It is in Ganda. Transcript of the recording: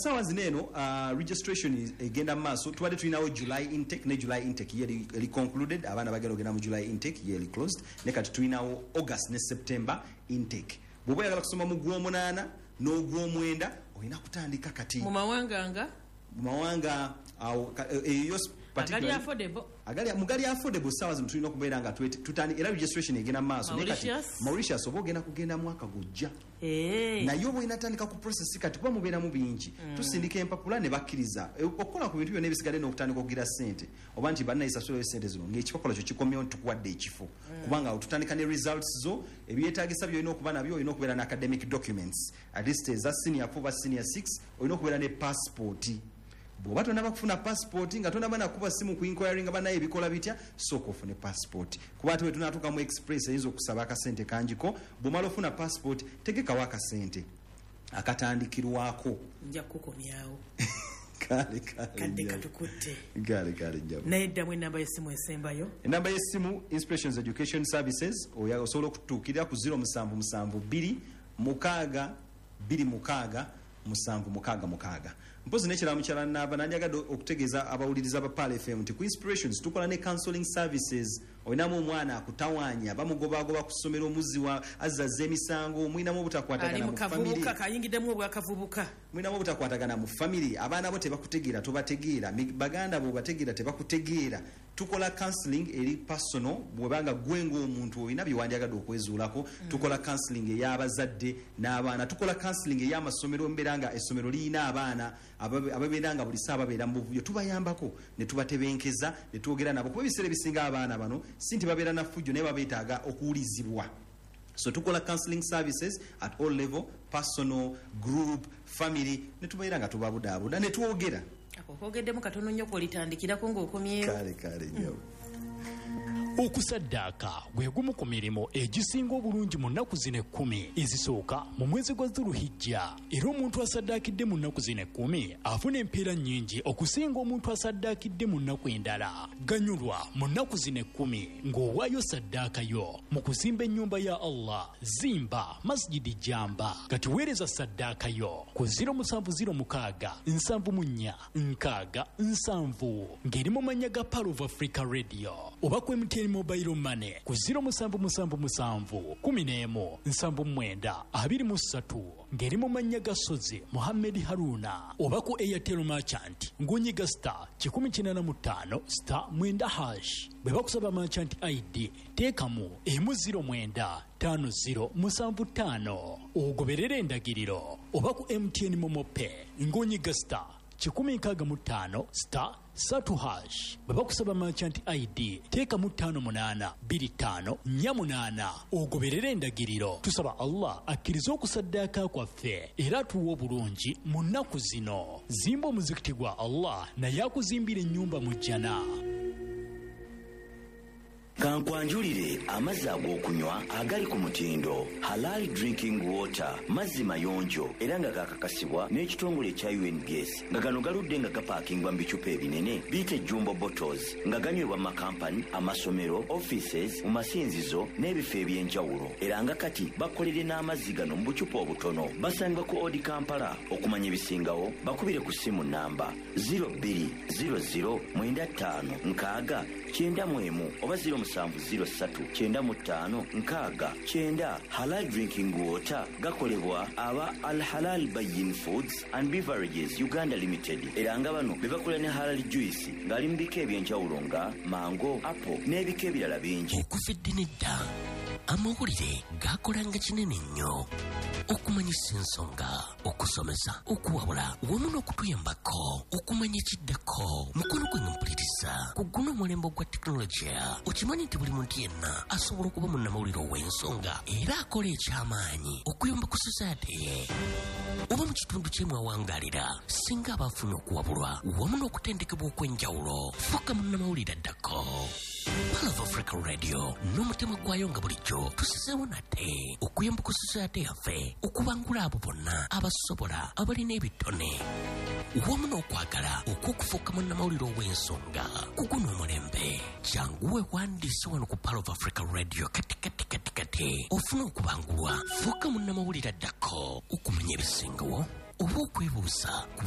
Saawa zino eno registration egenda mu maaso. Tubadde tulinawo July intake, ne July intake ye eri concluded. Abaana bagenda ogenda mu July intake, ye eri closed. Ne kati tulinawo August ne September intake. Bw'oba oyagala kusoma mu gw'omunaana n'ogw'omwenda, olina kutandika kati. Mu mawanga nga? Mu mawanga awo eyo agali affordable. Agali mugali affordable, saawa zino tulina okubeera nga tutandi era registration egenda mu maaso. Naye kati Mauritius? Mauritius oba ogenda kugenda mwaka gujja. Naye oba olina tandika ku process kati, kuba mubeeramu bingi. Tusindika empapula ne bakkiriza. Okukola ku bintu byonna ebisigadde n'okutandika okugira ssente, oba nti bannayisasulayo ssente zino ng'ekipapula kyo kikomyewo nti tukuwadde ekifo, kubanga awo tutandika ne results zo. Ebyetaagisa byolina okuba nabyo, olina okubeera ne academic documents at least eza senior 4 oba senior 6, olina okubeera ne passport. Bw'oba tonaba kufuna passport, nga tonaba nakuba simu ku inquiry nga banaye ebikola bitya, sooka ofune passport, kuba ate wetunatuuka mu express eyinza okusaba akasente kangiko. Bw'omala ofuna passport, tegekawo akasente akatandikirwako. Nja kukukomyawo. Kale kale. Kadde Njabo. Katukutte. Kale kale, njabo. Naye ddamu enamba y'essimu esembayo. Enamba y'essimu, Inspirations Education Services, osobola okutuukirira ku 0772 6 26 766. Mpozi nekirala, mukyala Naava, nandyagadde okutegeeza abawuliriza ba Pearl FM nti ku Inspirations tukola ne counseling services. Olinamu omwana akutawaanya, bamugobagoba ku ssomero, omuzzi wa azzaza emisango, mulinamu Ali obutakwatagana mu mu famire, kavubuka kayingiddemu obwakavubuka, mulinamu obutakwatagana mu famire, abaana bo tebakutegeera, tobategeera, baganda bo bategeera tebakutegeera, tukola counseling eri personal. Bwebanga gwe ng'omuntu olina byewandyagadde okwezuulako, tukola counseling ey'abazadde n'abaana. Tukola counseling ey'amasomero, mbeera nga essomero liyina abaana ababeera nga buli saa babeera mu buvuyo, tubayambako ne tubatebenkeza ne twogera nabo, kuba ebiseera ebisinga abaana bano si nti babeera na ffujjo, naye babeetaaga okuwulizibwa. So tukola counseling services at all level, personal, group, family, ne tubeera nga tubabudaabuda ne twogera. Ako koogeddemu katono nnyo kwolitandikirako ng'okomyewo. Kale kale, nyabo. Okusaddaaka gwe gumu ku mirimu egisinga obulungi mu nnaku zino 10 ezisooka mu mwezi gwa Dhuluhijja, era omuntu asaddaakidde mu nnaku zino 10 afuna empeera nnyingi okusinga omuntu asaddaakidde mu nnaku endala. Ganyulwa mu nnaku zino 10 ng'owaayo saddaaka yo mu kuzimba ennyumba ya Allah. Zimba Masjidi Jamba. Kati weereza saddaaka yo ku 0706 74 60 70 ng'eri mu mannya ga Pearl of Africa Radio, oba ku MTN Mobile Money ku 0777 11 79 23 ng'eri mu mannya ga Sozi Muhammed Haruna, oba ku Airtel Merchant ng'onyiga *185*9#. Bwe bakusaba merchant ID, teekamu 109 5075 ogoberere endagiriro, oba ku MTN MoMo Pay ng'onyiga *165*3#. Bwe bakusaba merchant ID, teekamu 58 25 48 ogoberere endagiriro. Tusaba Allah akkirize okusaddaaka kwaffe era atuwe obulungi mu nnaku zino. Zimba omuzikiti gwa Allah, naye akuzimbira ennyumba mu jjana. Kankwanjulire amazzi ag'okunywa agali ku mutindo, Halal Drinking Water. Mazzi mayonjo era nga gakakasibwa n'ekitongole ekya UNBS, nga gano galudde nga gapaakingwa mu bicupa ebinene biyite jumbo bottles, nga ganywebwa mu makampani, amasomero, offices, mu masinzizo n'ebifo eby'enjawulo. Era nga kati bakolere n'amazzi gano mu bucupa obutono. Basangibwa ku Odi Kampala. Okumanya ebisingawo, bakubire ku ssimu namba 0200 95 60 91 oba 0703 95 60 90. Halal Drinking Water gakolebwa aba Al Halal Bayin Foods and Beverages Uganda Limited, era nga bano be bakola ne halal juice ng'ali mu bika ebyenjawulo nga mango, apple n'ebika ebirala bingi. Okuva eddi nedda, amawulire gakolanga kinene nnyo okumanyisa ensonga, okusomesa, okuwabula wamu n'okutuyambako okumanya ekiddako. Mukono gwange mpuliriza, ku guno omulembe ogwa tekinologiya, okimanyi nti buli muntu yenna asobola okuba munnamawulire ow'ensonga era akola ekyamaanyi okuyamba ku society ye oba mu kitundu kye mwawangalira, singa aba afunye okuwabulwa wamu n'okutendekebwa okw'enjawulo. Fuuka munnamawulire addako. Pearl of Africa Radio n'omutima gwayo nga bulijjo tusizeewo nate okuyamba ku society yaffe okubangula abo bonna abasobola, abalina ebitone wamu n'okwagala okw'okufuuka munnamawulire ow'ensonga ku guno omulembe. Jangu weewandiise wano ku Pearl of Africa Radio kati kati kati kati ofune okubangulwa. Fuuka munnamawulire addako. Okumanya ebisingawo oba okwebuuza ku